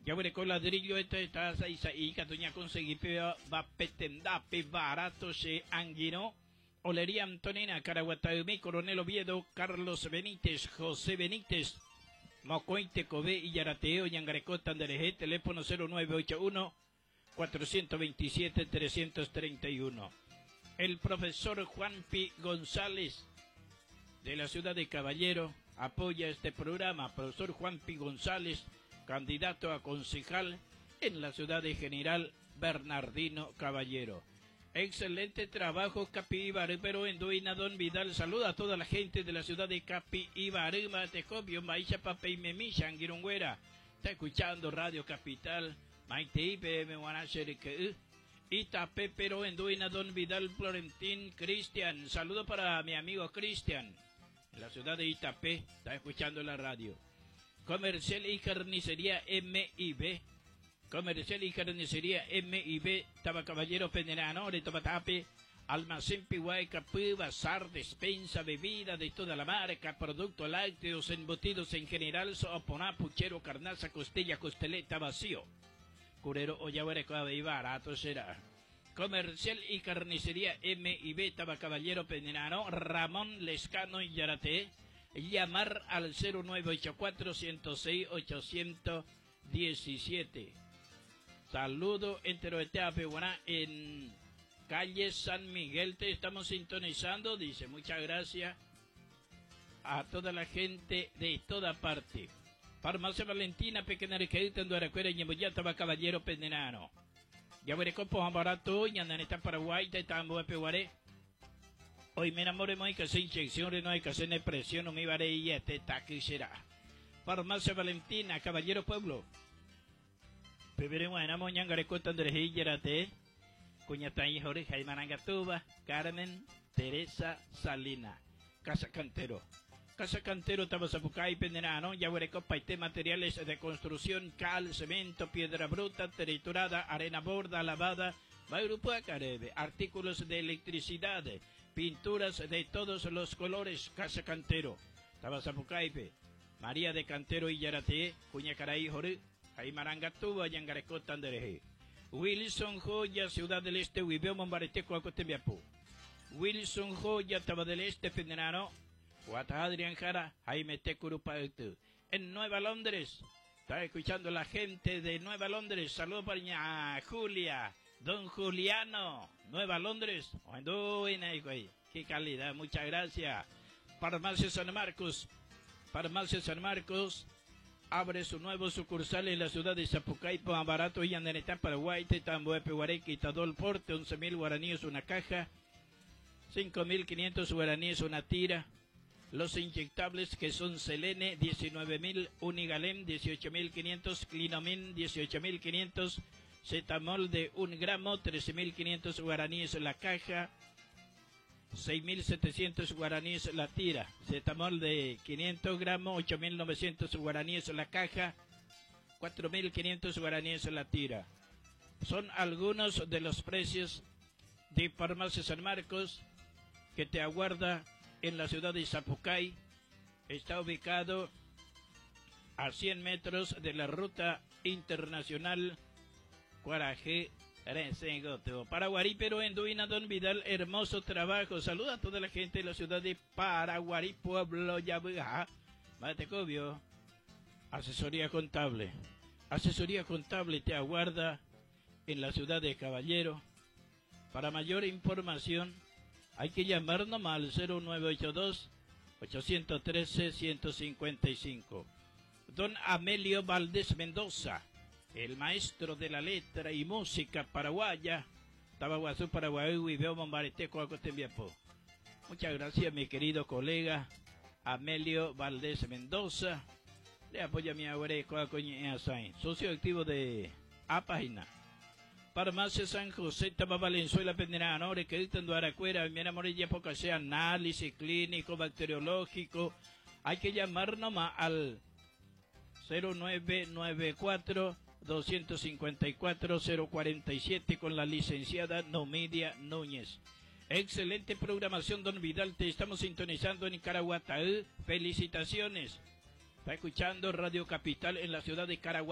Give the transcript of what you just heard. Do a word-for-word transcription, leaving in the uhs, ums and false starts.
Jaguereko ladrillo esta está sa'i katu ñakonsegui va petendápe barato che angirũ. Olería Antonina, Caraguataymi, Coronel Oviedo, Carlos Benítez, José Benítez, Mokõi tekove ijaratee oñangarekóta nderehe, teléfono cero nueve ocho uno cuatrocientos veintisiete trescientos treinta y uno. El profesor Juan P. González de la ciudad de Caballero apoya este programa. Profesor Juan P. González, candidato a concejal en la ciudad de General Bernardino Caballero. Excelente trabajo, Capiibary, pero en Duina Don Vidal. Saluda a toda la gente de la ciudad de Capiibary, Matecobio, Maisha Papeimemi, Angirũnguéra. Está escuchando Radio Capital, Maite I P M, Itapé, pero en Duina Don Vidal Florentín Cristian. Saludo para mi amigo Cristian. En la ciudad de Itapé, está escuchando la radio. Comercial y Carnicería M y B. Comercial y Carnicería M y B, Tabacaballero Penerano, Tape, Almacén Piguay, Capú, Bazar, despensa, bebida de toda la marca, productos lácteos, embutidos en general, soponá, puchero, carnaza, costilla, costeleta, vacío. Curero, ollahuere, y barato será. Comercial y Carnicería M y B, Tabacaballero Penerano, Ramón Lescano y Yarate. Llamar al cero nueve ocho cuatro ciento seis ochocientos diecisiete. Saludo entero de en calle San Miguel. Te estamos sintonizando. Dice, muchas gracias a toda la gente de toda parte. Farmacia Valentina, Pequeña Requerita, Anduaracuera, Ñemboyata, Caballero Pendenano. Ya veré con barato, Ñandaneta Paraguay, Tambo Peguaré. Hoy me enamoré, no hay que hacer inyección, no hay que hacer presión, no me iba a ir este taqui será. Farmacia Valentina, Caballero Pueblo. Peberemos ñangareko Andrés Yarate, Cuñatay Jorge Jaimarangatuba, Carmen Teresa Salina, Casa Cantero. Casa Cantero, Tabazapucay, Penderano, Yahuereco, Paité, materiales de construcción, cal, cemento, piedra bruta, triturada, arena borda, lavada, Caribe, artículos de electricidad, pinturas de todos los colores, Casa Cantero, Tabazapucaipe, María de Cantero y Yarate, Cuñacaray, Jorge, Jaimarangatuba, Yangareco, Tandereje. Wilson Joya, Ciudad del Este, Huibeo, Mombarete, Coacotembiapu. Wilson Joya, Taba del Este, Penderano, Guata Adrián Jara, Jaime Tecurupa. En Nueva Londres, está escuchando la gente de Nueva Londres. Saludos para Julia, don Juliano, Nueva Londres. Qué calidad, muchas gracias. Farmacia San Marcos, Farmacia San Marcos abre su nuevo sucursal en la ciudad de Sapucay, Barato y Andanetá, Paraguay, Tambo, Guarequi, Tadol Porte, once mil guaraníes una caja, cinco mil quinientos guaraníes una tira. Los inyectables que son Selene, diecinueve mil, Unigalem, dieciocho mil quinientos, Clinomin, dieciocho mil quinientos, Cetamol de un gramo, trece mil quinientos guaraníes la caja, seis mil setecientos guaraníes la tira. Cetamol de quinientos gramos, ocho mil novecientos guaraníes la caja, cuatro mil quinientos guaraníes la tira. Son algunos de los precios de Farmacia San Marcos que te aguarda en la ciudad de Sapucay. Está ubicado a cien metros de la ruta internacional Cuarajé Paraguarí, pero en Duina Don Vidal, hermoso trabajo. Saluda a toda la gente de la ciudad de Paraguarí, pueblo Yabuja. Matecobio. Asesoría contable. Asesoría contable te aguarda en la ciudad de Caballero. Para mayor información, hay que llamar nomás al cero nueve ocho dos ochocientos trece ciento cincuenta y cinco. Don Amelio Valdés Mendoza, el maestro de la letra y música paraguaya, Tabaguazú, Paraguay, y veo Bombarete, Coacotembiapo. Muchas gracias, mi querido colega Amelio Valdés Mendoza. Le apoya mi abuela, socio activo de A Página. Farmacia San José, Taba Valenzuela, Penderano, que Aracuera, mi Morilla, poca sea análisis clínico, bacteriológico. Hay que llamar nomás al cero nueve nueve cuatro doscientos cincuenta y cuatro cero cuarenta y siete con la licenciada Nomidia Núñez. Excelente programación, don Vidal. Te estamos sintonizando en Caraguatay. Felicitaciones. Está escuchando Radio Capital en la ciudad de Caraguatay.